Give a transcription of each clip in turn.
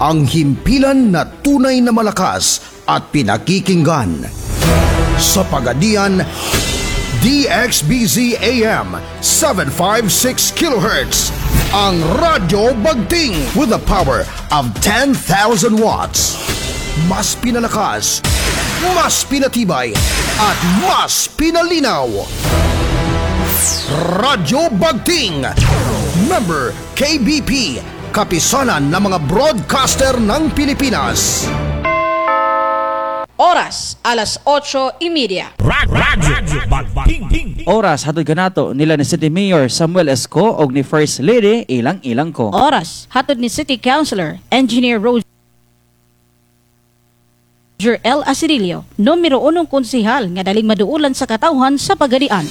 Ang himpilan na tunay na malakas at pinakikinggan. Sa Pagadian, DXBZ AM 756 kHz. Ang Radyo Bagting with a power of 10,000 watts. Mas pinalakas, mas pinatibay, at mas pinalinaw. Radyo Bagting. Member KBP, kapisanan ng mga broadcaster ng Pilipinas. Oras, 8:30. Radyo Bagting. Oras, hatod kanato nila ni City Mayor Samuel Esco og ni First Lady Ilang Ilang ko. Oras, hatod ni City Councilor, Engineer Roger L. Asirilio, numero unong konsihal nga daling maduulan sa katawhan sa Pagadian.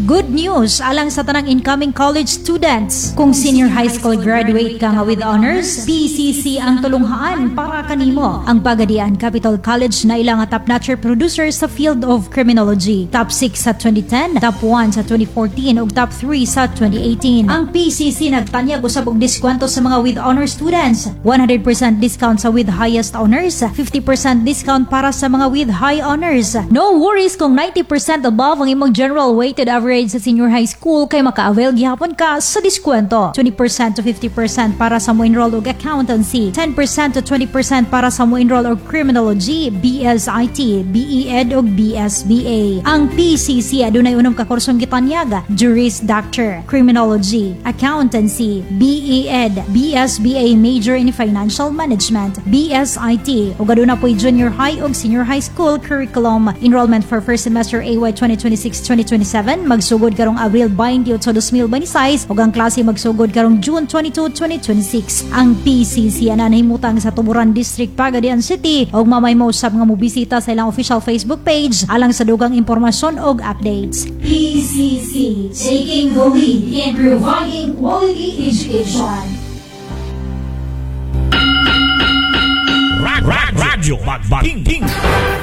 Good news alang sa tanang incoming college students. Kung senior high school graduate ka nga with honors, PCC ang tulunghaan para kanimo. Ang Pagadian Capital College na ilang nga top-notcher producer sa field of criminology. Top 6 sa 2010, top 1 sa 2014 ug top 3 sa 2018. Ang PCC nagtanyag usab og diskwento sa mga with honors students. 100% discount sa with highest honors, 50% discount para sa mga with high honors. No worries kung 90% above ang imong general weighted average sa senior high school kay maka-avail gihapon ka sa diskwento. 20% to 50% para sa mo enroll og accountancy, 10% to 20% para sa mo enroll og criminology, BSIT, BEEd ug BSBA. Ang PCC adunay unom ka kursong gitanyag: Juris Doctor, Criminology, Accountancy, BEEd, BSBA Major in Financial Management, BSIT, ug aduna po'y junior high ug senior high school curriculum. Enrollment for first semester AY 2026-2027 magsugod karong Abril 28, 2026 ug ang klase magsugod karong June 22, 2026. Ang PCC ana nahimutang sa Tuburan District, Pagadian City ug mamay mo usab nga mobisita sa ilang official Facebook page alang sa dugang impormasyon ug updates. PCC, taking the lead in providing quality education. Radyo Bagting.